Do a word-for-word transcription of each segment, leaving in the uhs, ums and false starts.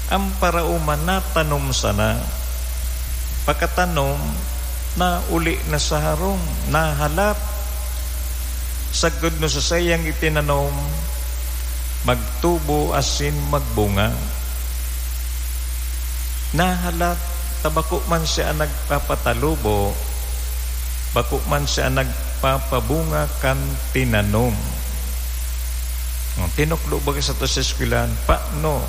Ang paraoma natanom sana. Pakatanom, nauli na sa harong, nahalat. Sagkod no sa saiyang itinanom, magtubo asin magbunga. Nahalat ta bako man siya an nagpapatalubo, bako man siya an nagpapabunga kan tinanom. Tinukdo ba sa to sa eskwelahan, paano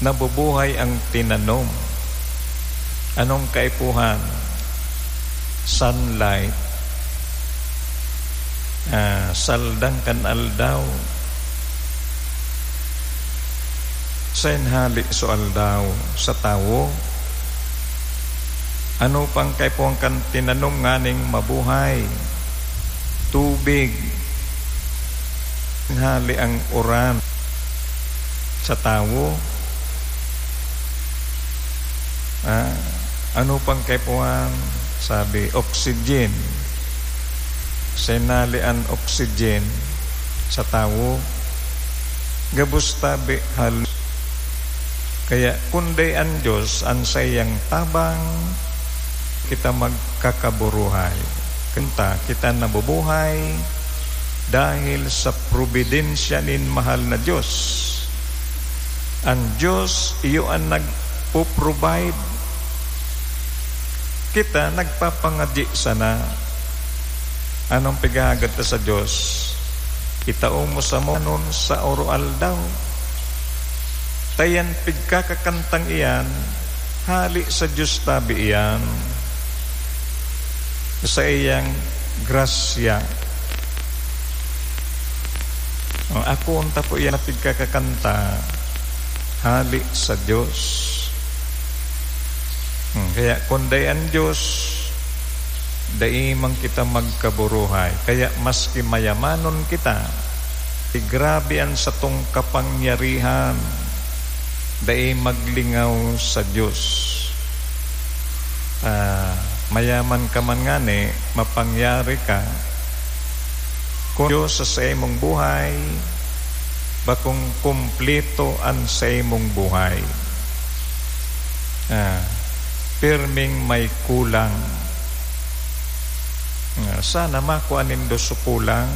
nabubuhay ang tinanom? Anong kaipuhan? Sunlight. Ah, saldang kan aldaw. Saen hali so aldaw sa tawo? Ano pang kaipuhan kan tinanom nganing mabuhay? Tubig. Hali ang uran sa tawo. Ah, ano pang kaipuhan? Sabi, oxygen. Saen hali an oxygen sa tawo? Gabos tabi hal-, kaya kun dai an Dios an saiyang tabang, kita magkakaburuhay. Kanta, kita nabubuhay dahil sa probidensya nin mahal na Dios. An Dios, iyo an nagpo-provide. Kita nagpapangadyi sana. Anong pighahagad ta sa Dios? Itao mo samo sa oro-aldaw. Ta iyan pigkakakantang iyan, hali sa Dios tabi iyan, sa iyang grasya. O, ako unta po iyan na pigkakakanta, hali sa Dios. Hmm, kaya kun dai an Dios, dai man kita magkaburuhay. Kaya maski mayamanon kita, grabe an satong kapangyarihan, dai maglingaw sa Dios. Ah, mayaman ka man ngani, mapangyari ka, kun Dios sa saimong buhay, bakong kumpleto an saimong buhay. Ah, pirming may kulang. Ah, sana makua nindo sa kulang.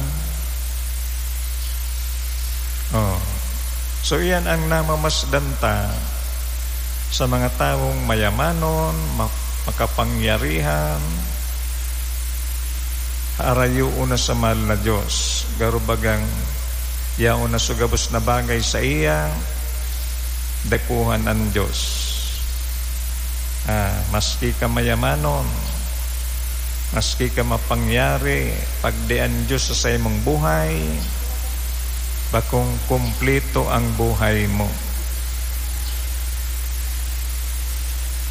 Oh. So, iyan ang namamasdan ta sa mga tawong mayamanon, ma-, makapangyarihan, harayoon na sa mahal na Dios. Garo bagang yaon na sa gabos na bagay saiya, dakuhan an Dios. Ah, maski ka mayamanon, maski ka mapangyari, pag di an Dios sa saimong buhay, bakong kumpleto ang buhay mo.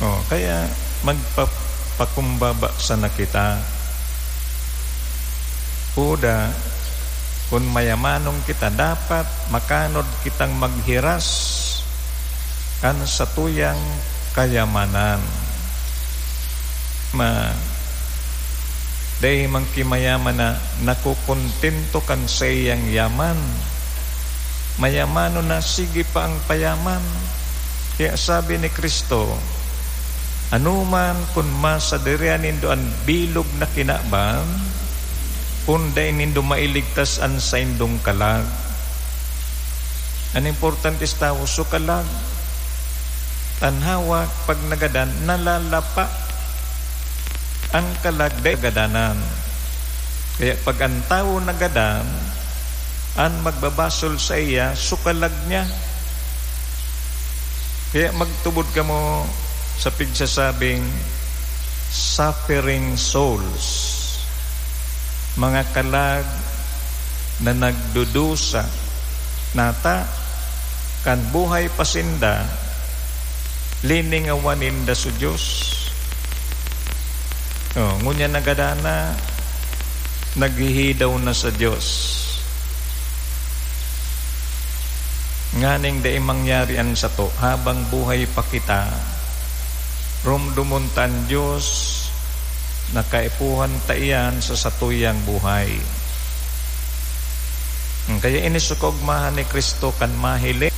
Oh, kaya magpapakumbaba sana kita. Uda, kun mayamanon kita, dapat makanod kitang maghiras kan satuyang kayamanan. Ma-, dai man ki mayaman na nakokontento kan saiyang yaman. Mayamanon na, sige pa ang payaman. Kaya sabi ni Cristo, "Anoman kun masadirihan nindo an bilog na kinaban, kun dai nindo mailigtas an saindong kalag." An importante sa tawo, so kalag. An hawak, pag nagadan, nalalapa. An kalag, dai gadanan. Kaya pag an tawo nagadan, an magbabasol saiya, so kalag niya. Kaya magtubod kamo sa pigsasabing, suffering souls, mga kalag na nagdudusa. Nata, kan buhay pa sinda, liningawan ninda sa Dios. Oh, ngunyan nagadan na, naghihidaw na sa Dios. Nganing dai mangyari an sato habang buhay pa kita, romdomon ta an Dios na kaipuhan ta iyan sa satuyang buhay. Kaya ini so kaogmahan ni Cristo kan mahiling,